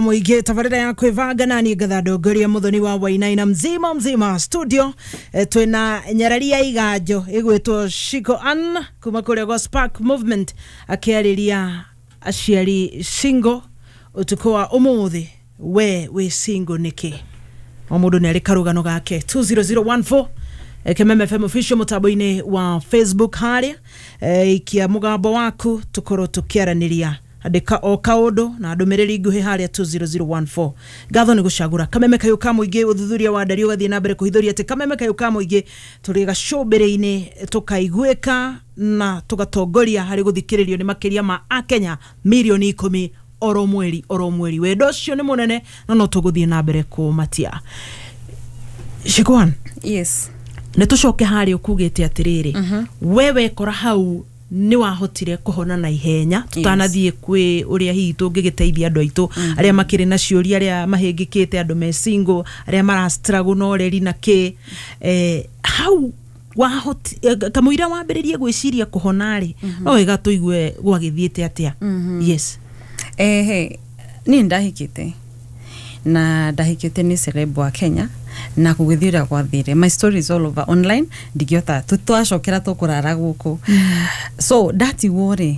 Muingĩ tabarĩra ya kwĩbanga na niĩ ngatha ndongoria Muthoni wa Wainaina mzima mzima studio. Twĩna nyarari ya iganjo ĩgwĩtwo Shiko Ann kuma kũrĩa gwa Spark Movement akĩarĩria aciari single ũtukũ wa ũmũthĩ. We wĩ single nĩkĩ? O mũndũ nĩ arĩ karũgano gake. 20014, Kememe FM official mũtambo-inĩ wa Facebook harĩa, ikia mũgambo waku tũkorwo tũkĩaranĩria. Andĩka o kaũndũ na ndũmĩrĩri nguhĩ harĩa 20014. Ngatho nĩ gũcagũra Kameme Kayũ ka Mũingĩ. Ũthuthuria wa ndari ũgathiĩ na mbere kũhithũria atĩ Kameme Kayũ ka Mũingĩ tũrĩ gacũmbĩrĩ-inĩ, tũkaiguĩka na tũgatongoria harĩ gũthikĩrĩrio nĩ makĩria ma akenya mirioni 10 oro mweri oro mweri. Wendo ũcio nĩ mũnene no no tũgũthiĩ na mbere kũmatia. Shikwan. Yes. Nĩ tũcoke harĩa ũkugĩte atĩrĩrĩ, we wekora hau nĩ wahotire kũhona na ihenya. Tũtanathiĩ kwĩ ũrĩa hihi tũngĩgĩteithia andũ aitũ arĩa makĩrĩ na ciũria, arĩa mahĩngĩkĩte, andũ me single, arĩa mara struggle na ũreri na kĩ, hau wahoti kamũira wambĩrĩrie gwĩciria kũhona rĩ, no wega tũigue gwagĩthiĩte atĩa. Yes. Ehe, niĩ ndahikĩte na ndahikĩte nĩ celeb wa Kenya na gũgĩthiĩ ũrĩa gwathire. My story is all over online, ndingĩhota twacokera tũkũrara gũkũ. So ndatigwo rĩ,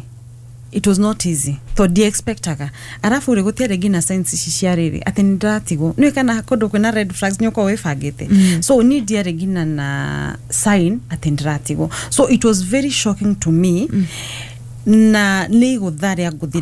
it was not easy tondũ ndiexpectaga, arabu rĩ, gũtiarĩ nginya signs ici cia rĩrĩ atĩ nĩ ndĩratigwo. Nĩ kana kũndũ kwĩna red flags nĩ ũkorwo wĩbangĩte, so niĩ ndiarĩ nginya na sign atĩ ndĩratigwo, so it was very shocking to me na nĩ igũtha rĩa ngũthire.